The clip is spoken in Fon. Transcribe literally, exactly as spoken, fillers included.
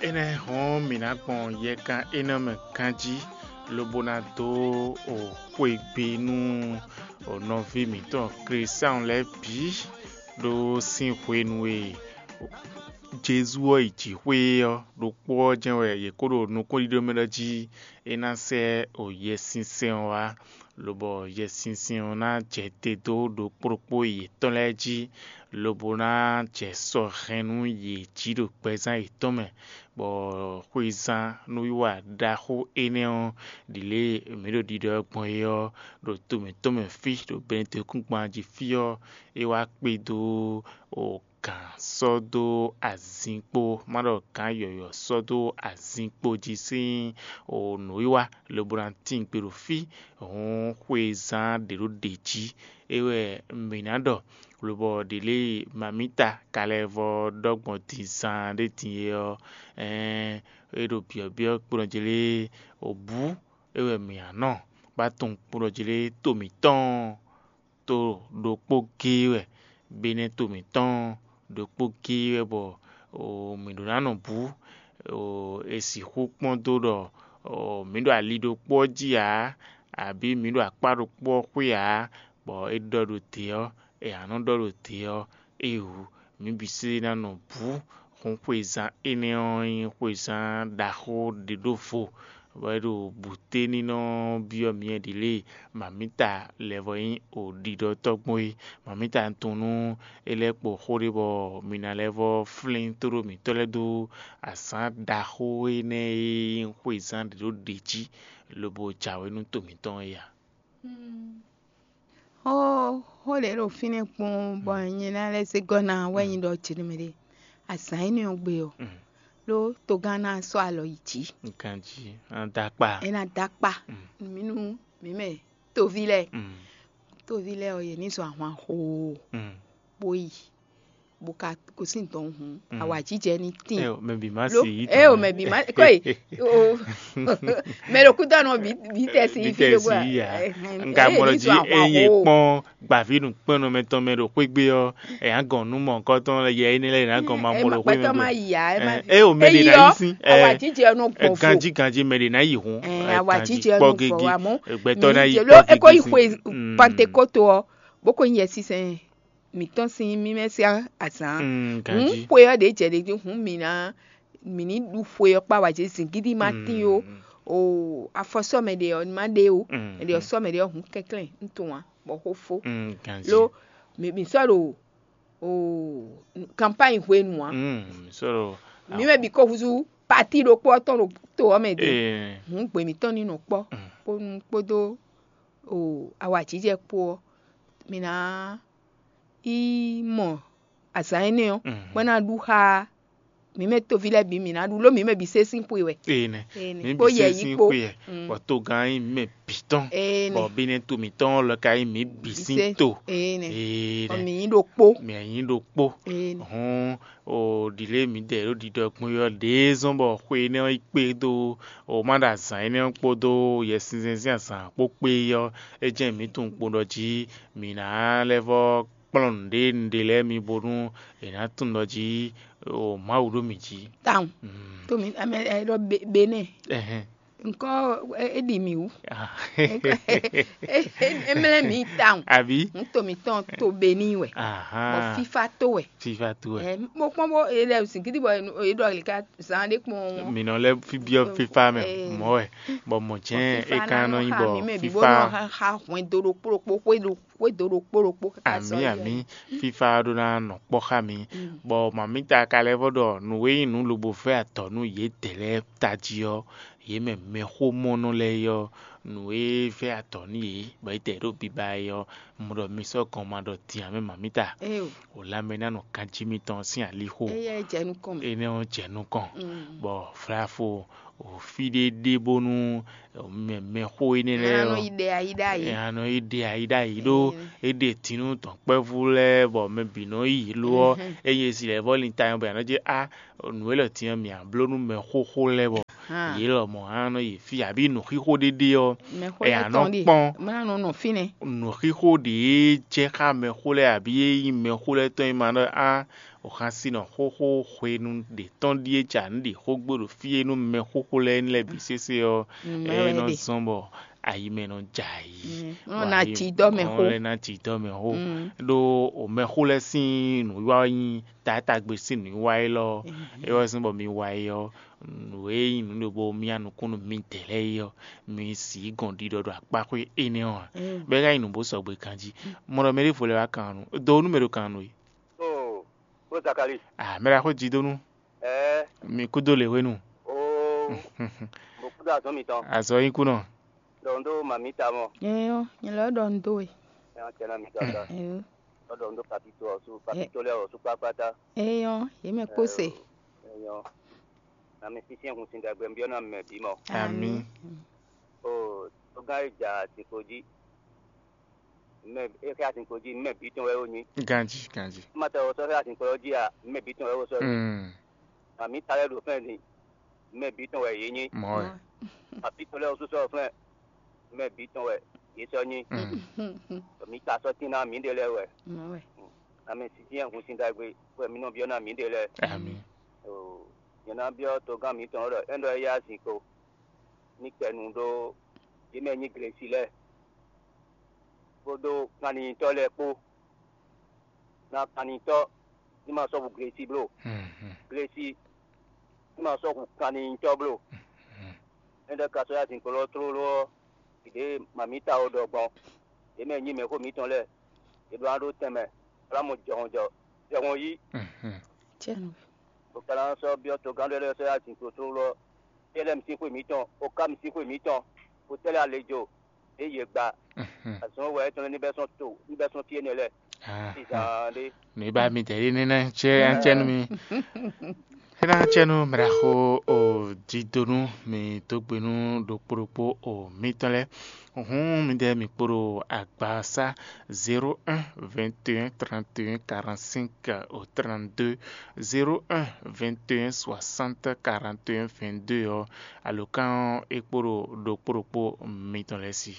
Énɛ́ hɔn mǐ ná gbɔn yɛkan énɛ́ mɛ ganjí, lobo ná dó xwegbe nú nɔví mǐtɔn Klísáɔn lɛ́ɛ bǐ, ɖó sín hwenu e Jezu ɔ́ yi jǐxwé ɔ́, ɖokpó ɔ́ jɛ́n wɛ yě kó ɖo nukúnɖíɖó mɛ ɖɔ jí é ná sɛ́ Yɛsinsɛn ɔ́ wá, lobɔ Yɛsinsɛn ɔ́ ná jɛ te dó ɖokpó ɖokpó yětɔn lɛ́ɛ jí, lobo ná jɛ sɔ hɛn nú yě jí ɖo gbɛzán yětɔn mɛ, bɔ xwezán nǔwiwa ɖaxó énɛ́ ɔ́, ɖi lě e mǐ ɖo ɖiɖɔ ɛ gbɔn é ɔ́, ɖo to mǐtɔn mɛ fí, ɖo Benedekúngban jí fí ɔ́, é wá kpé dó gǎn sɔ́ dó azinkpo, má ɖɔ gǎn yɔ̌yɔ́ sɔ́ dó azinkpo jí sín nǔwiwa, lobo ná tín gbe ɖo fí, hǔn xwezán ɖě ɖo ɖě jí. É wɛ mǐ ná ɖɔ, lobɔ ɖě lě e mamǐta ka lɛ́ vɔ́ ɖɔ gbɔn din zaan ɖé din é ɔ́, ɛɛn, é ɖo byɔ̌byɔ́ kpo nɔ jlé, bǔ é wɛ mǐ ná nɔ, bó tunwun kpo nɔ jlé to mǐtɔn to ɖokpó géé wɛ, benɛ́ to mǐtɔn ɖokpó géé wɛ, bɔ mǐ ɖó ná nɔ bǔ. È sixú kpɔ́n dó ɖɔ mǐ ɖo ali ɖokpó ɔ́ jí ǎ, abǐ mǐ ɖo akpá ɖokpó ɔ́ xwé ǎ, bɔ é ɖɔ ɖo dě ɔ́, è nǎ nɔ ɖɔ ɖo dě ɔ́, éeǒ, mǐ bǐ sésé ná nɔ bǔ. Hǔn xwezán énɛ́ ɔ́ nyí xwezán ɖaxó ɖě ɖó vo, bɔ é ɖo bǔténínɔ byɔ́ myɛ ɖě lě e mamǐta lɛ́ vɔ nyí ɖiɖɔtɔ́ gbɔn é. Mamǐta tunwun nú é lɛ́ kpo xó ɖé bɔ mi ná lɛ́ vɔ flín tóɖó mǐtɔn lɛ́ɛ dó azǎn ɖaxó énɛ́ e nyí xwezán ɖě ɖó ɖě jí, lobo jǎwe nú to mǐtɔn é a? Xó xó ɖě ɖo fínɛ́ kpɔ́n bɔ nyɛ ná lɛ́ zé gɔ́ ná wɛ nyí ɖɔ jǐnúmɛ ɖé. Azǎn énɛ́ ɔ́ gbe ɔ́, ɖó togán ná sɔ́ alɔ yi jǐ. Ganjí ná dó akpá. É ná dó akpá. Mǐ nú mǐ mɛ toví lɛ́ɛ. Toví lɛ́ɛ ɔ́, yě ní zɔn ahwan xoo bó yi, bó ka gosín dɔ̌n hǔn, awǎjijɛ ní tíin. Ɛ o, mɛ bǐ má Lo- si yí ɛ o, tɔn. Mɛ bǐ má kɔ́ yi o. Mɛ ɖo kúdɔ̀nù bǐ bǐ tɛ si Bítɛ fi ɖokpó si yí ya. Nka mɔ ɖɔ jí ényí kpɔ́n gbàví nǔkpɛ́nnɔ mɛtɔn mɛ ɖo xwé gbé ɔ́, ɛ yǎ gɔn nú mɔ̌hunkɔtɔn yɛ énɛ́ lɛ́ɛ yě ná gɔn ma mɔ ɖo xwé mɛ gbɛtɔ́ má gbé. Yi ya ɛ má Ɛ o, mɛ ɖě ná yí sín. Awǎjijɛ nɔ gbɔn fo. Ganjí ganjí mɛ ɖě ná yi hun. Ɛ, awǎjijɛ nɔ gbɔn fo, amɔ́ gbɛtɔ́ ná yi lo kpɔ́ eko yi gégé xwe sín. Pantekóto ɔ́, bó ko nyɛ sísɛn mǐtɔn sín mímɛ́ sín azǎn. Mm, Hǔn ganjí. Xwe ɔ́ ɖě jɛ ɖě jí hǔn mǐ ná mǐ ní ɖu xwe ɔ́ kpá wǎ jí zǐngídi má tín ó. O afɔsɔ́ mɛ ɖě ɔ́ má ɖe ó. Mm, Mɛ ɖě ɔ́ sɔ́ mɛ ɖě ɔ́ hǔn kɛnklɛ́n un tunwun ǎ, bɔ xó fó. Mm, ganjí. Lo mǐ mǐ sɔ́ ɖo o kanpány hwenu ǎ. Mm, sɔ́ ɖo Mǐ mɛ bǐ ko húzú pati ɖokpó ɔ́ tɔn ɖo to ɔ́ mɛ ɖě. Ee. Hǔn gbě mǐtɔn ní nɔ kpɔ́ kpónú kpódó o awǎjijɛ kpó ɔ́, mǐ ná yi mɔ azǎn énɛ́ ɔ́, bó ná ɖu xá mǐ mɛ toví lɛ́ɛ bǐ, mǐ ná ɖu ló mǐ mɛ bǐ sé sín xwe wɛ. Ee nɛ. Ee nɛ. Mǐ Kpó bǐ yɛ sé yí sín kpó. Xwe yɛ. Mm. Bɔ togán nyí mɛ bǐ tɔn. Ee nɛ. Bɔ bínɛ́ to mǐtɔn lɔ ka nyí mǐ bǐ sín Bísé. To. Ee nɛ. Ee Bɔ nɛ. Mǐ nyí ɖokpó. Mǐ nyí ɖokpó. Ee nɛ. Hɔn o ɖile mǐdɛɛ ɖo ɖiɖɔ gbɔn ɔ́ ɖě zɔ́n bɔ xwe énɛ́ ɔ́ yi kpé dó o má ɖo azǎn énɛ́ ɔ́ kpódó Yɛsinsɛn sín azǎn kpó kpé ɔ́, é jɛ́n mǐ tunwun kpo ɖɔ jí mǐ ná lɛ́ vɔ́ kplɔ́n nǔɖé nǔɖé lɛ́ɛ mi bónú è nǎ tunwun ɖɔ jí o Mawu ɖo mǐ jí. Tawun. Mm. To mi ame ɛ ɖɔ be- benɛ. Ɛhɛn. Nkɔ e- e ɖi mi wú. Ah. E- e- e- Emlɛ mi tawun. Àbí? N to mi tɔn to beni wɛ. Ahan. Bɔ fifa to wɛ. Fifa to wɛ. Ɛ mo kpɔn bo e lɛ zingidi bɔ e ɖɔ lika zan ɖe kpɔn. Mǐ nɔ lɛ́ fi- biɔ fifa mɛ mɔ̌ wɛ, bɔ mɔ̌ jɛ́n é ka nɔ nyí bɔ fifa. Xa hwɛndo ɖokpó ɖokpó xwé ɖo xwé do ɖokpó ɖokpó káká sɔ Àmì yi àmì ɔ́. Fífá ɔ́ ɖó ná nɔ kpɔ́ xá mi. Bɔ mamǐta ka lɛ́ vɔ ɖɔ nǔ e nyí nǔ lobo vɛ́ atɔ̌ nú yědɛɛ lɛ́ɛ tají ɔ́, yě mɛ mɛxómɔnɔ lɛ́ɛ é ɔ́, nǔ e vɛ́ atɔ̌ nú yě bɔ yědɛɛ ɖo biba é ɔ́, un ɖɔ mi sɔ́ gɔn ma ɖɔ din ǎ mɛ mamǐta. Eo. O lanmɛ ná nɔ ganjí mitɔn sín alixo. Éyɛ́ jɛ nukɔn mɛ. Énɛ́ ɔ́ jɛ nukɔn. Mm. Bɔ vlafo o fí ɖé ɖe bónú mɛ mɛxó énɛ́ lɛ́ɛ Ná nɔ ɔ́, yi ɖe ayi ɖ'ayǐ. Ɛ, a nɔ yi ɖe ayi ɖ'ayǐ ɖó é ɖe dǐnú dɔ̌nkpɛvú lɛ́ɛ bɔ mɛ bǐ nɔ yi lo ɔ́, ényí e si lɛ́ vɔ lin ta nyɔ bɔ a nɔ jɛ a nǔ e lɔ din ɔ́ mǐ a bló nú mɛ xóxó lɛ́ɛ bɔ yě lɔmɔ̌ a nɔ yi fí abǐ nǔxixo ɖéɖé ɔ́, Mɛxó ɛ lɛ́ɛ a nɔ tɔn ɖe. Kpɔ́n Mɛ ná nɔ nɔ fínɛ́. Nǔxixo ɖě jɛ xá mɛxó lɛ́ɛ abǐ e nyí mɛxó lɛ́ɛ tɔn e ma ɖɔ a O xásin nɔ xóxó hwenu ɖě tɔn ɖíe ca nǔ ɖi xógbó ɖo fí e nú mɛ xóxó lɛ́ɛ ní lɛ́ɛ bǐ sésé ɔ́, é nɔ zɔ́n bɔ ayi mɛ nɔ jɛ ayǐ. Nɔ ná jǐ dɔ́ mɛ xó. Lɛ́ɛ ná jǐ dɔ́ mɛ xó. Ɖó o mɛxó lɛ́ɛ sín nǔwiwa ɔ́ nyí taátagbe sín nǔwiwa élɔ́. É wɛ zɔ́n bɔ mi wa é ɔ́, nǔ e nyí nǔ ɖokpó mía nukún nú midɛɛ lɛ́ɛ é ɔ́, mi sǐ gɔn ɖiɖɔ ɖo akpáxwé énɛ́ ɔ́ ǎ. Bɔ é ka nyí nǔ bó sɔgbe ganjí. Mɔ ɖɔ mɛ ɖěvo lɛ́ɛ wá kan nú, do nú mɛ ɖo kan nú é. Ó Zakali. Ah, mɛ ɖaxó Jidonu. Ɛɛ. Mi kúdó lě hwenu. Oo. Mo kúdó azɔn mitɔn. Azɔ yín kú nɔ. Ɖɔ un ɖó mami ta mɔ. Ɛyɔ, nyɛ lɔ ɖɔ un dó we. Ɛyɔ, tɛ na mi tɔ ta. Ɛyɔ. Ɖɔ un ɖó papito ɔsu, papito lɛ ɔsu kpakpata. Ɛyɔ, yě mɛ kó se. Ɛyɔ. Na mi sísí hun sin dagbe biɔ na mɛ bí mɔ. Ami. O, tó gán e ja siko jí. Mɛ e xɛ azinkpo jí, mɛ bǐ tɔn wɛ ó nyí. Ganji, ganji. Má tɛ ɔ sɔ́ xɛ azinkpo ɔ́ jí a, mɛ bǐ tɔn wɛ ó sɔ́ nyí. Mm. Mami ta lɛ́ɛ ɖo fɛ́n din, mɛ bǐ tɔn wɛ yě nyí. Mɔ wɛ. Mami tɔn lɛ́ɛ ɔ́ sú sɔ́ fɛ́n, mɛ bǐ tɔn wɛ yě sɔ́ nyí. Mm. Mi ka sɔ́ tín ná mǐɖée lɛ́ɛ wɛ. Mɔ wɛ. Amɛ sinsin hun sin ɖagbe wɛ mi nɔ byɔ́ ná mǐɖée lɛ́ɛ. Ami. O, nyɛ ná byɔ́ togán mǐtɔn ɔ́ ɖɔ é ɖɔ é yá azinkpo ní kɛ nu ɖó yě mɛ nyí glesi lɛ́ɛ, kpódó kanlintɔ́ lɛ́ɛ kpó. Na kanlintɔ́ ní ma sɔ́ hu glesi bló. Mhm. Glesi ní ma sɔ́ hu kanlintɔ́ bló. Mhm. Énɛ́ ka sɔ́ yá zinkpo lɔ tlóló ɔ́, ɖě mamǐta ɔ́ ɖɔ gbɔn. Yě mɛ nyí mɛxó mǐtɔn lɛ́ɛ, yě ɖó ná ɖó tɛnmɛ, bó ná mɔ jɔhɔn jɔ, jɔhɔn yí. Mhm. Bó ka ná sɔ́ byɔ́ togán ɖé lɛ́ɛ sɔ́ yá zinkpo tlóló ɔ́, Yɛlɛ́ mi sín xwe mǐtɔn, Oká mi sín xwe mǐtɔn, Otɛ́lɛ Alejo, ɖě yě gba. Mhm. Azɔn wɛ étɔn ní bɛ́ sɔ́n to, ní bɛ́ sɔ́n fí énɛ́ lɛ́ɛ. Ah, sízán ɖé. Nǔ e ba mi dɛ ɖé nɛ́ cɛ ancɛnu mi. Éná cɛnu mraxo o didonu mi dó gbe nú ɖokpó ɖokpó o mitɔn lɛ́ɛ. Hǔn midɛɛ mi kpo ɖo agbasá zéro un vingt et un trente et un quarante-cinq au trente-deux, zéro un vingt et un soixante quarante et un vingt-deux ɔ́, alǒkan ɔ́ é kpo ɖo ɖokpó ɖokpó mitɔn lɛ́ɛ sí.